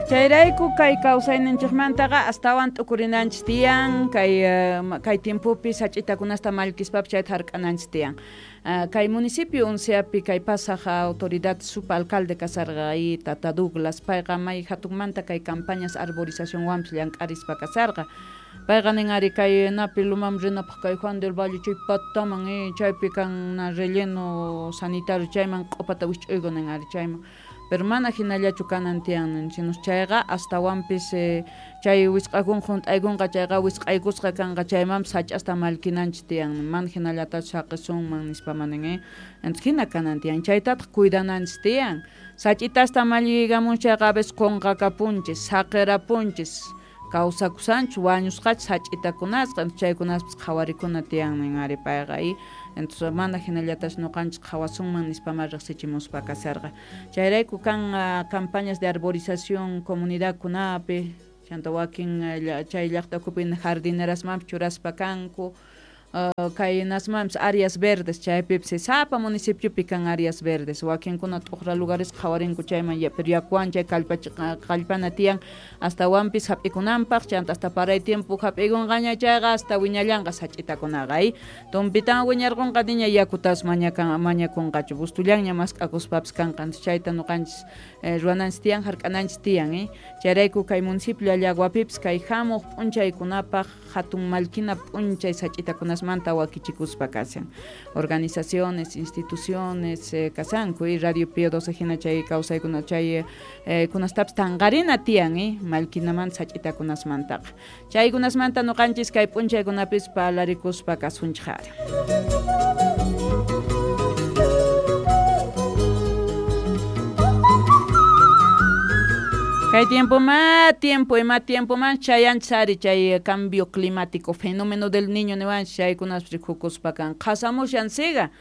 Chayrayku kay kawsayninchikmantaqa astawan t'ukurinanchik tiyan, kay kay tiempopi sach'itakunasta mallkispapis chayta hark'ananchik tiyan. Kay municipio Unceapi kay pasaq autoridad subalcalde kasarqa y tata Douglas, payqa may hatunmanta kay campañas arborizacionwanpis llank'arispa kasarqa. Payqa nin ari kay napi lumaman rinapaq kay Juan del Valle chay pataman chaypi kan relleno sanitario chayman q'upata wisch'uyku nin ari chayman. Pero mana hinallachu kanan tiyan sino chayqa astawanpis chay wisq'akun hunt'aykunqa chayqa wisq'aykusqa kanqa chaymanpis sach'asta mallkinanchik tiyan mana hinallatachu saqisunman nispa manin entonces hina kanan tiyan chaytataq cuidananchik tiyan sach'itasta malliykamun chayqa a veces qunqakapunchis saqirapunchis kawsakusanchu wañusqachu sach'itakunasqa chaykunaspis qhawarikuna tiyan nin ari payqa y entonces mana hinallatachu ñuqanchik qhawasunman nispama riqsichimuspa kasarqa chayrayku kan campañas de arborización comunidadkunapi chanta wakin chay llaqta ukhupi jardinerasmanpis churaspa kanku kay nasmanpis áreas verdes chaypipis sapa municipiopi kan áreas verdes wakinkuna t'uqra lugares qhawarinku chayman pero yakuwan chay kallpana tiyan astawanpis hap'ikunanpaq chanta hasta paray tiempo hap'ikunqaña chayqa hasta wiñallanqa sach'itakunaqa tumpitan wiñarqunqa niña yakutas mañakunqachu bustullanña mask'akuspapis kanqa chayta ñuqanchis ruwananchis tiyan hark'ananchis tiyan chayrayku kay municipio Llallaguapipis kay hamuq p'unchaykunapaq hatun mallkina p'unchay sach'itakunas manta wakichikuspa kashan organizaciones, instituciones kasanku y Radio Pío 12 hina chay kawsaykuna chay kunastapis tanqarina tiyan mallkinamanta sach'itakunasmantaqa chaykunasmanta ñuqanchis kay p'unchaykunapis parlarikuspa kasunchik ari. Kay tiempo ima tiempo man chayanchis ari chay cambio climático fenómeno del niño niwanchis chaykunaspis rikukuspa kan qhasamushan siga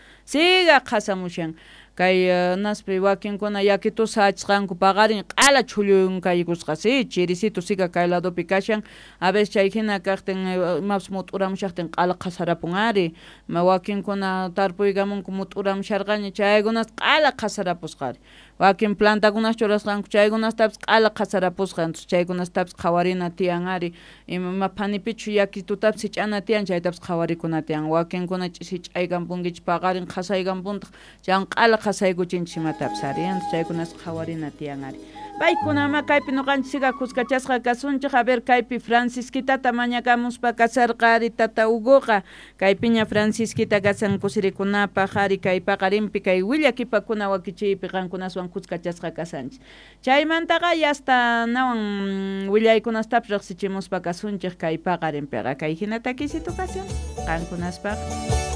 qhasamushan kay naspi wakinkuna yakitus sach'asqanku paqarin q'ala chhulluynkaykusqa si chirisitu siga kay ladopi kashan a veces chay hina kaqtin imapis mut'uramushaqtin q'ala qhasarapun ari wakinkuna tarpuykamunku mut'uramusharqaña chaykunas q'ala qhasarapusqa ari wakin plantakunas churasqanku chaykunastapis q'ala qhasarapusqa entonces chaykunastapis qhawarina tiyan ari ima phanipichu yakitutapis sich'ana tiyan chaytapis qhawarikuna tiyan wakinkuna sich'aykampunkichik paqarin qhasaykampuntaq chaywan q'ala qhasaykuchinchik imatapis ari entonces chaykunas qhawarina tiyan ari paykunama kaypi ñuqanchik siga kuskachasqa kasunchik a ver kaypi Francisquitata mañakamuspa kasarqa ari tata Hugoqa kaypiña Francisquita kasan kusirikunapaq ari kay paqarinpi kay willakipakuna wakichiypi qankunaswan kuskachasqa kasanchik chaymantaqa yasta nawan willaykunastapis riqsichimuspa kasunchik kay paqarinpiqa kay hina takisitu kashan qankunaspaq.